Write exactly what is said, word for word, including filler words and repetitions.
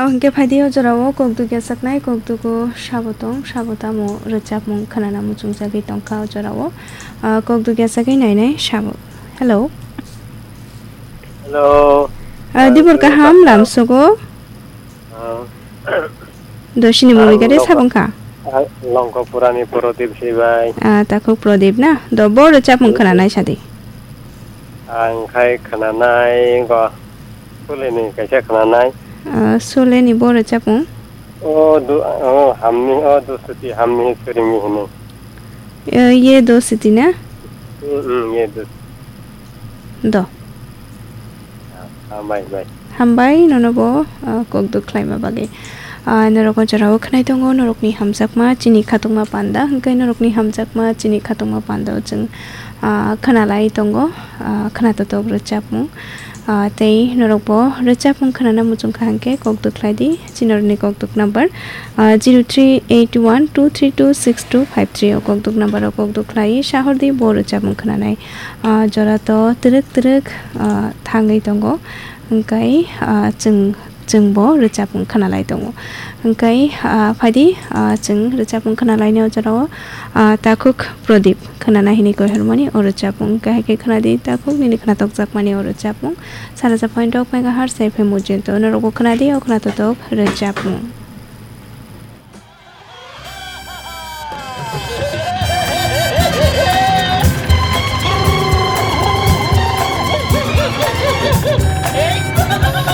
Hwnkhe phaidi o jorao kokduk yachaknai, kokdugo sabo tong, sabo tamo rwchapmung khwnana muchungjagwi tongkha o jorao. Ah, kokduk yachagwi nainai sabo. Hello. Hello. Ah, dibor kaham lamsogo. Ah. Doshini muni gare sabong kha. Ah, Longkopurani Prodip sibai. Ah, takhuk Prodip na? Do bo rwchapmung khwnanai sadi. Ang khai khwnanai go. Suleni kaisa khwnanai. Ah, Suleni bo rwchapmung? O du-, o hamni, o dusuti hamni suringni hini. Eh, ye dosuti na? Hmm, hmm, ye dos. Do. Ah, hambai, bai. Hambai, nono bo, ah, kokduk khlaima bagwi. Ah, norok o jorao khwnai tongo, norokni hamjakma, chini khatungma panda, hwnkhe norokni hamjakma, chini khatungma panda o chwng, ah, khwnalai tongo, ah, khwnatotok rwchapmung. Ah, tei norok bo rwchapmung khwnana muchung kha hwnkhe kokduk khlai di, chini norokni kokduk number, ah, zero three eight one two three two six two five three o kokduk number o kokduk khlai sahor di bo rwchapmung khwnanai. Ah, jora to twrwk twrwk, ah, thangwi tongo, hwnkhe, ah, chwng, chwng bo rwchapmung khwnalai tongo. Hwnkhe, ah, phaidi, ah, chwng rwchapmung khwnalaini o jorao, ah, takhuk Prodip khwnana hini koi hormani o rwchapmung. Hwnkhe hai khe khwnadi takhuk nini khwnatokjakmani o rwchapmung. Saraja point rok megahertz F M ujento norokbo khwnadi o khwnatotok rwchapmung.